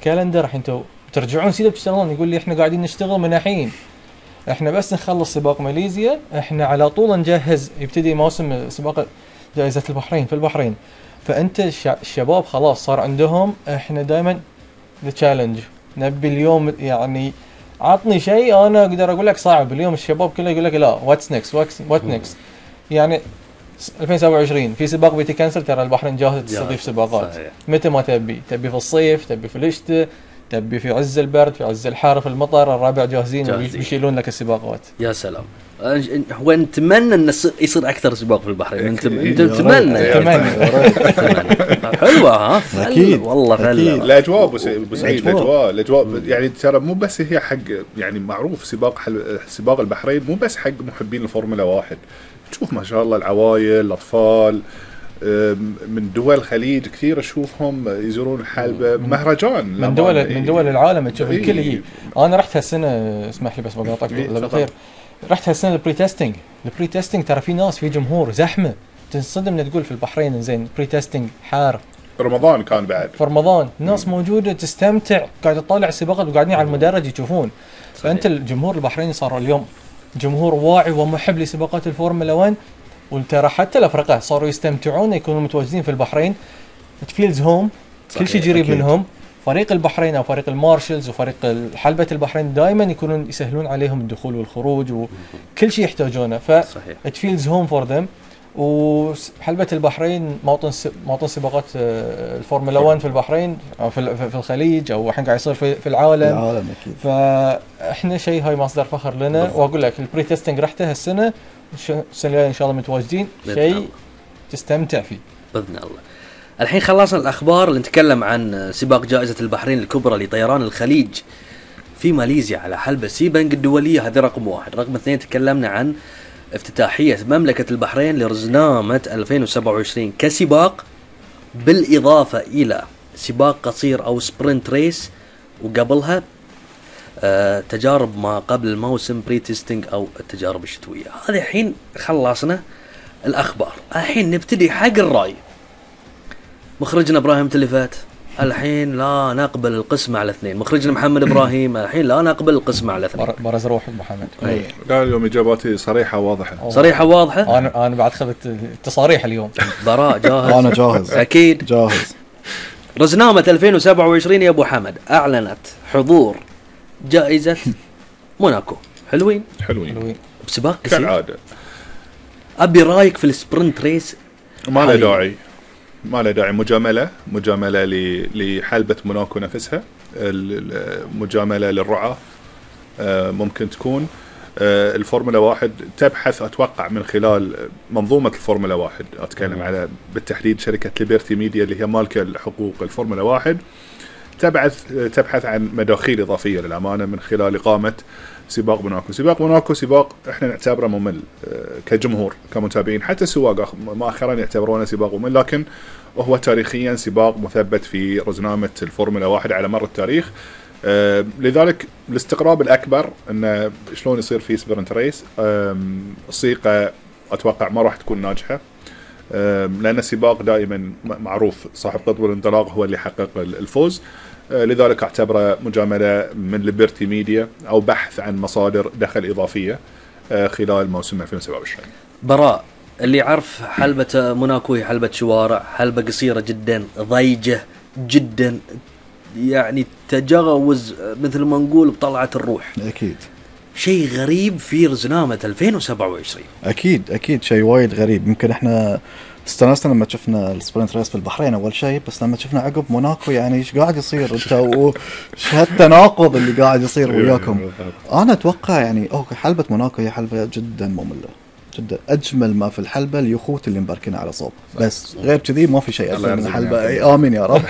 كالندر الحين انتوا ترجعون سيدا بتشتغلون، يقول لي احنا قاعدين نشتغل من الحين، احنا بس نخلص سباق ماليزيا احنا على طول نجهز يبتدي موسم سباق جائزة البحرين في البحرين. فانت الشباب خلاص صار عندهم احنا دائما التشالنج، نبي اليوم يعني عطني شيء انا اقدر اقول لك صعب. اليوم الشباب كله يقول لك لا واتس نيكست وات نيكست. يعني 2027 في سباق بيتكنسل، ترى البحرين جاهزة تستضيف سباقات صحيح. متى ما تبي في الصيف، تبي في الشتاء، تبي في عز البرد، في عز الحر، في المطر، الربع جاهزين ويشيلون لك السباقات. يا سلام. هو نتمنى ان يصير اكثر سباق في البحرين. انت نتمنى حلوه ها اكيد والله فعلا. الاجواء ابو سعيد، الاجواء يعني ترى مو بس هي حق يعني معروف سباق البحرين مو بس حق محبين الفورمولا 1. تشوف ما شاء الله العوائل الاطفال من دول الخليج كثير اشوفهم يزورون الحلبة مهرجان من دول العالم تشوف الكل يجي. انا رحت هالسنه، اسمح لي بس بقاطعك بالخير، رحت هالسنه البري تيستينج ترى في ناس، في جمهور زحمه تنصدم ان تقول في البحرين زين بري تيستينج حار. رمضان كان بعد في رمضان ناس موجوده تستمتع، قاعد تطالع السباقات وقاعدين على المدرج يشوفون. فانت الجمهور البحريني صار اليوم جمهور واعي ومحب لسباقات الفورمولا 1. وترى حتى الافرقه صاروا يستمتعون يكونوا متواجدين في البحرين. فيلز هوم، كل شيء قريب منهم. فريق البحرين او فريق المارشلز وفريق حلبة البحرين دائما يكونون يسهلون عليهم الدخول والخروج وكل شيء يحتاجونه. فيلز هوم فور ذم. وحلبة البحرين موطن سباقات الفورمولا 1 في البحرين أو في الخليج او الحين قاعد يصير في العالم أكيد. فاحنا شيء هاي مصدر فخر لنا. واقول لك البري تيستنج رحته هالسنه، السنه الجايه ان شاء الله متواجدين، شيء تستمتع فيه باذن الله. الحين خلصنا الاخبار اللي نتكلم عن سباق جائزة البحرين الكبرى لطيران الخليج في ماليزيا على حلبة سيبنج الدولية. هذا رقم 1. رقم 2 تكلمنا عن افتتاحية مملكة البحرين لرزنامة 2027 كسباق، بالإضافة إلى سباق قصير أو سبرنت ريس، وقبلها تجارب ما قبل الموسم بري تيستينج أو التجارب الشتوية. هذا الحين خلصنا الأخبار. الحين نبتدي حق الرأي. مخرجنا إبراهيم تلفات الحين لا نقبل القسمة على 2. مخرجنا محمد إبراهيم الحين لا نقبل القسمة على 2. برز روحك محمد. لا اليوم إجاباتي صريحة واضحة. صريحة واضحة. أنا بعد خذت التصاريح اليوم. براء جاهز. أنا جاهز. أكيد جاهز. رزنامة 2027 يا أبو حمد أعلنت حضور جائزة موناكو. حلوين بسباق كثير كالعادة. أبي رأيك في السبرنت ريس. ما له داعي مجاملة لحلبة موناكو نفسها، المجاملة للرعاة. ممكن تكون الفورمولا 1 تبحث أتوقع من خلال منظومة الفورمولا 1، أتكلم على بالتحديد شركة ليبرتي ميديا اللي هي مالكة الحقوق الفورمولا 1، تبحث عن مداخيل إضافية للأمانة من خلال إقامة سباق موناكو. سباق احنا نعتبره ممل كجمهور كمتابعين، حتى السواق مؤخرا يعتبرونه سباق ممل، لكن وهو تاريخيا سباق مثبت في رزنامة الفورمولا 1 على مر التاريخ. لذلك الاستقراب الأكبر أنه شلون يصير في سبرنت ريس. الصيغة أتوقع ما راح تكون ناجحة، لأن السباق دائما معروف صاحب قطب الانطلاق هو اللي يحقق الفوز. لذلك اعتبره مجاملة من ليبرتي ميديا أو بحث عن مصادر دخل إضافية خلال موسم 2027. براء اللي يعرف حلبة موناكو هي حلبة شوارع، حلبة قصيرة جدا، ضيجة جدا، يعني تجاوز مثل ما نقول بطلعة الروح. أكيد شيء غريب في رزنامة 2027. أكيد شيء وايد غريب. يمكن إحنا استانسنا لما شفنا السبرنت ريس في البحرين أول شيء، بس لما شفنا عقب موناكو يعني إيش قاعد يصير أنت وش هالتناقض اللي قاعد يصير وياكم. أنا أتوقع يعني حلبة موناكو هي حلبة جدا مملة جدا. أجمل ما في الحلبة اليخوت اللي مباركين على صوب، بس غير كذي ما في شيء أجمل من الحلبة. آمين يا رب.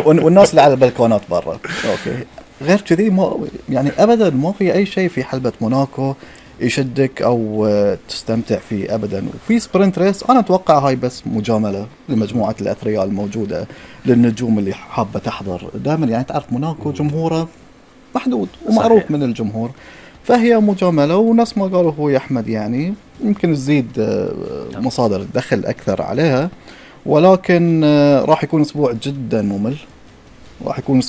والناس اللي على البلكونات برا أوكي. غير كذي ما يعني أبدا ما في أي شيء في حلبة موناكو يشدك أو تستمتع فيه أبدا. وفي سبرنت ريس أنا أتوقع هاي بس مجاملة لمجموعة الأثرياء الموجودة للنجوم اللي حابة تحضر. دائما يعني تعرف موناكو جمهوره محدود ومعروف صحيح من الجمهور، فهي مجاملة. ونفس ما قالوا هو يا أحمد يعني يمكن تزيد مصادر الدخل أكثر عليها، ولكن راح يكون أسبوع جدا ممل راح يكون